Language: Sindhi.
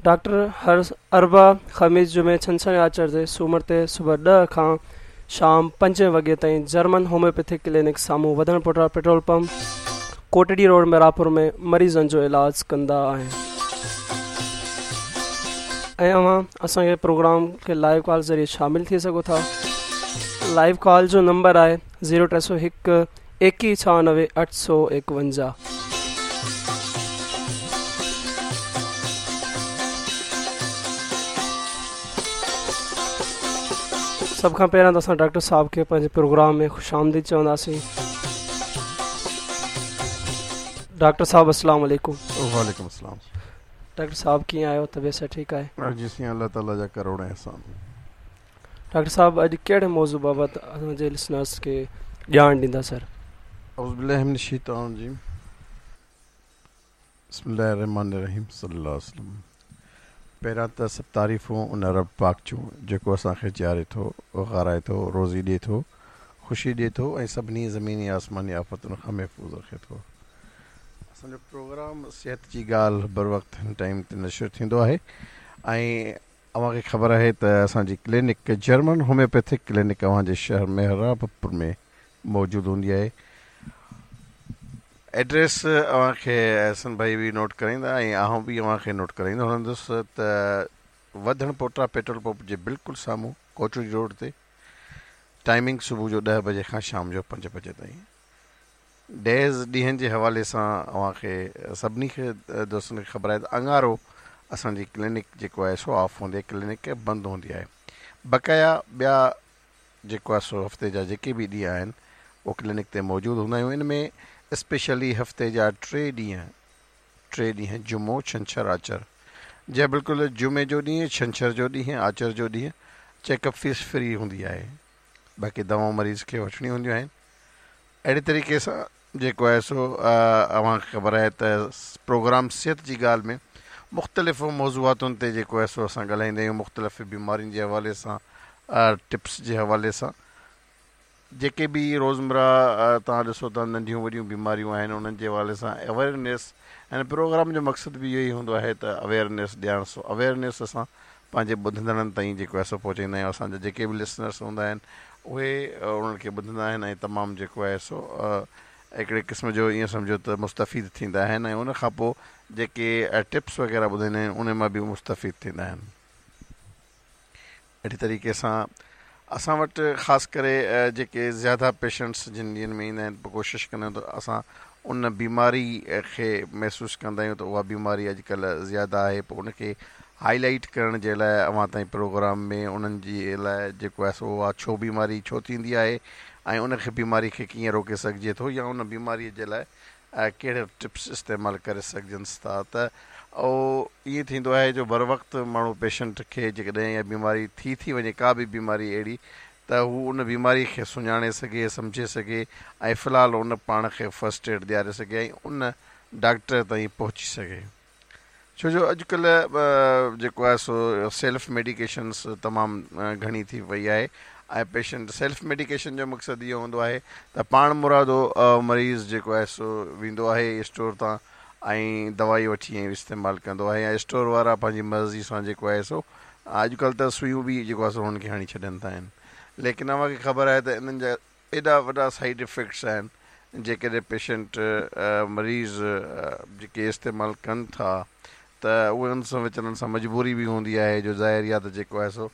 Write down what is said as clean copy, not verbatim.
ڊاڪٽر هر اربع، خميس، جمعي، ڇنڇر ۽ آچر تي سومر تي صبح 10 کان شام 5 وڳي تائين جرمن هوميوپيٿڪ ڪلينڪ سامهون وڌڻ پوٽا petrol pump Kotri road Mehrabpur ۾ مريضن جو علاج ڪندا آهن. ۽ اوهان اسان کي پروگرام کي لائيو ڪال ذريعي شامل ٿي سگهو ٿا. لائيو ڪال جو نمبر آهي زيرو 301 21 96 851. سڀ کان پهريان ته اسان ڊاڪٽر صاحب کي پنهنجي پروگرام ۾ خوش آمديد چونداسين. ڊاڪٽر صاحب السلام عليڪم. وعليڪم السلام. ڊاڪٽر صاحب ڪيئن آهيو طبيعت صحت ٺيڪ آهي؟ جي سائين الله تعالي جا ڪروڙ احسان. ڊاڪٽر صاحب اڄ ڪهڙي موضوع بابت اسان جي لسنرس کي ڄاڻ ڏيندا سر؟ اعوذ بالله من الشيطان الرجيم بسم الله الرحمن الرحيم صلي الله عليه وسلم پهريان ته سڀ تعريفون ان رب پاڪ جون جيڪو اسان کي جياري ٿو غارائي ٿو روزي ڏي ٿو خوشي ڏي ٿو ۽ سڀني زميني آسماني آفتن کان محفوظ رکي ٿو اسان جو پروگرام صحت جي ڳالهه بروقت هن ٽائيم تي نشر ٿيندو آهي ۽ اوهان کي خبر آهي ته اسان جي ڪلينڪ جرمن هوميوپيٿڪ ڪلينڪ اوهان جي شهر محرابپور ۾ موجود هوندي آهي. ايڊريس اوهان کي احسن ڀائي به نوٽ ڪرائيندا ۽ آئون به اوهان کي نوٽ ڪرائيندو هلندس ته وڌڻ پوٽا پيٽرول پمپ جي بلڪل سامهون ڪوٽڙي روڊ تي ٽائمنگ صبح جو 10 بجي کان شام جو 5 بجي تائين. ڊيز ڏينهن جي حوالي سان اوهان کي سڀني کي دوستن کي خبر آهي ته اڱارو اسان جي ڪلينڪ جيڪو آهي سو آف هوندي آهي ڪلينڪ بند هوندي آهي بقايا ٻيا جيڪو آهي سو هفتي جا جيڪي به ڏينهن آهن اهو ڪلينڪ تي موجود هوندا آهيون ان ۾ اسپيشلي هفتي جا ٽي ڏينهن ٽي ڏينهن جمعو ڇنڇر آچر جي بلڪل جمعي جو ڏينهن ڇنڇر جو ڏينهن آچر جو ڏينهن چيڪ اپ فيس فري هوندي آهي باقي دوائون مريض کي وٺڻيون هونديون آهن اهڙي طريقي سان جيڪو آهي سو اوهان کي خبر آهي ته پروگرام صحت جي ڳالهه ۾ مختلف موضوعاتن تي جيڪو آهي سو اسان ڳالهائيندا آهيون مختلف بيمارين جي حوالي سان ٽپس جي حوالي سان جيڪي به روزمره توهان ڏسو ته ننڍيون وڏيون بيماريون آهن انهن جي حوالي سان اويئرنيس هن پروگرام جو مقصد به اهو ئي هوندو آهي ته اويئرنيس ڏيڻ سو اويئرنيس اسان پنهنجي ٻڌندڙن تائين جيڪو آهي سو پهچائيندا آهيون اسان جا جيڪي به لسنرس هوندا آهن اهي انهن کي ٻڌندا آهن ۽ تمام جيڪو آهي سو هڪڙي قسم جو ائين سمجهو ته مستفيد ٿيندا آهن ۽ ان کان پوء جيڪي ٽپس وغيره ٻڌائيندا آهيون ان مان به مستفيد ٿيندا آهن. اهڙي طريقي سان اسان وٽ خاص ڪري جيڪي زياده پيشنٽس جن ڏينهن ۾ ايندا آهن پوء ڪوشش ڪندا آهيون ته اسان ان بيماري کي محسوس ڪندا آهيون ته اها بيماري اڄڪلهه زياده آهي پوء ان کي هائي لائيٽ ڪرڻ جي لاء اوهان تائين پروگرام ۾ انهن جي لاء جيڪو آهي سو اها ڇو بيماري ڇو ٿيندي آهي ۽ ان کي بيماري کي ڪيئن روڪي سگهجي ٿو يا ان بيماري جي لاء ڪهڙا ٽپس استعمال ڪري سگهجن ٿا ته اهو ائين ٿيندو آهي جو بروقت ماڻهو پيشنٽ کي جيڪڏهن اها بيماري ٿي ٿي وڃي ڪا به بيماري اهڙي ته هو ان بيماري کي سڃاڻي سگهي سمجهي سگهي ۽ في الحال ان پاڻ کي فرسٽ ايڊ ڏياري سگهي ۽ ان ڊاڪٽر تائين پهچي سگهي. ڇو جو اڄڪلهه جيڪو آهي سو سيلف ميڊيڪيشنس تمام گهڻي ٿي وئي آهي ۽ پيشنٽ سيلف ميڊيڪيشن جو مقصد اهو هوندو آهي ته پاڻ مرادو مريض جيڪو آهي سو ويندو آهي اسٽور تان ۽ دوائي وٺي ۽ استعمال ڪندو آهي يا اسٽور وارا پنهنجي مرضي سان جيڪو آهي سو اڄڪلهه ته سوئيون به جيڪو آهي سو انهن کي هڻي ڇڏين ٿا آهن ليڪن اوهان کي خبر آهي ته انهن جا ايڏا وڏا سائيڊ افيڪٽس آهن جيڪڏهن پيشنٽ مريض جيڪي استعمال ڪن ٿا ته اهي ان سان ويچارن سان مجبوري به هوندي آهي جو ظاهر آ ته جيڪو آهي سو